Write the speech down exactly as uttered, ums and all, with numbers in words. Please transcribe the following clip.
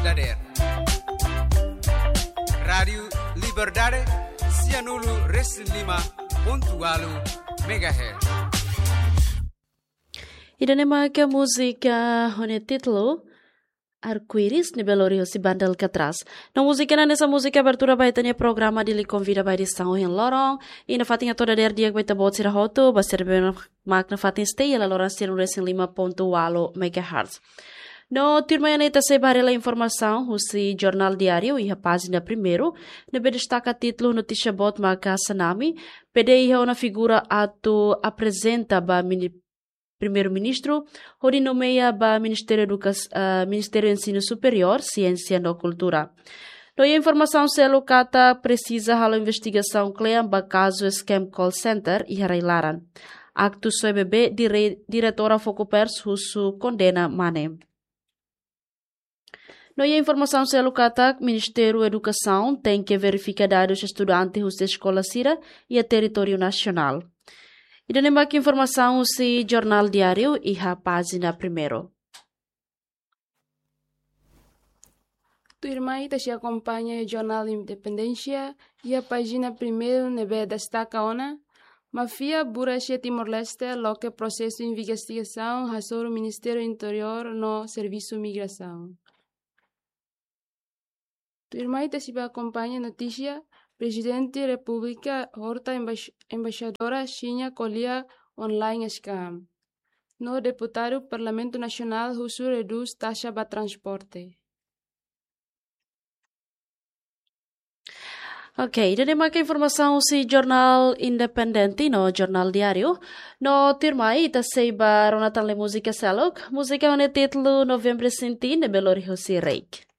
dadeer. Rádiu Liberdade, sianulu resin lima pontu walu megahertz. Ida-ne'e mak múzika ho nia títulu Arco-Íris ne'ebé lori hosi banda Alcatraz. No múzika ne'e hanesan múzika abertura ba ita-nia programa Dili Konvida ba edisaun ohin loron. I nafatin hato'o dadeer di'ak ba ita-boot sira hotu, ba sira ne'ebé mak nafatin stay iha laloran sianulu resin lima pontu walu megahertz. No tuirmai ita sei ba haree informasaun husi Jornál Diáriu iha pájina primeiru, ne'ebé destaka títulu notísia boot maka Xanami, pede iha ona figura atu aprezenta ba mini-, Primeiru-Ministru, hodi nomeia ba Ministériu Eduka-, ah, Ministériu Ensinu Superiór, Siénsia no Kultura. No iha informasaun seluk katak presiza halo investigasaun kle'an ba kazu scam call center iha rai-laran. Aktu soe bebé, dire-, diretora Fokupers husu kondena mane. No iha informasaun seluk katak Ministériu Edukasaun tenke verifika dadus estudante husi eskola sira iha territóriu nasionál. Ida-ne'e mak informasaun husi Jornál Diáriu iha pájina primeiru. Tuirmai ita sei akompaña Jornál Independénsia iha pájina primeiru ne'ebé destaka ona: Máfia buras iha Timor-Leste loke prosesu investigasaun hasoru Ministériu Interiór no Servisu Migrasaun. Tuirmai ita sei ba akompaña notísia: Prezidente Repúblika horta embaix-, embaixadora Xina ko'alia online scam. No deputadu Parlamentu Nasionál husu redús taxa ba transporte. Ok, ida-ne'e mak informasaun husi Jornál Independente no Jornál Diáriu. No tuirmai ita sei ba rona tan lee múzika seluk. Múzika ho nia títulu Novembru Sintin ne'ebé lori hosi Reik.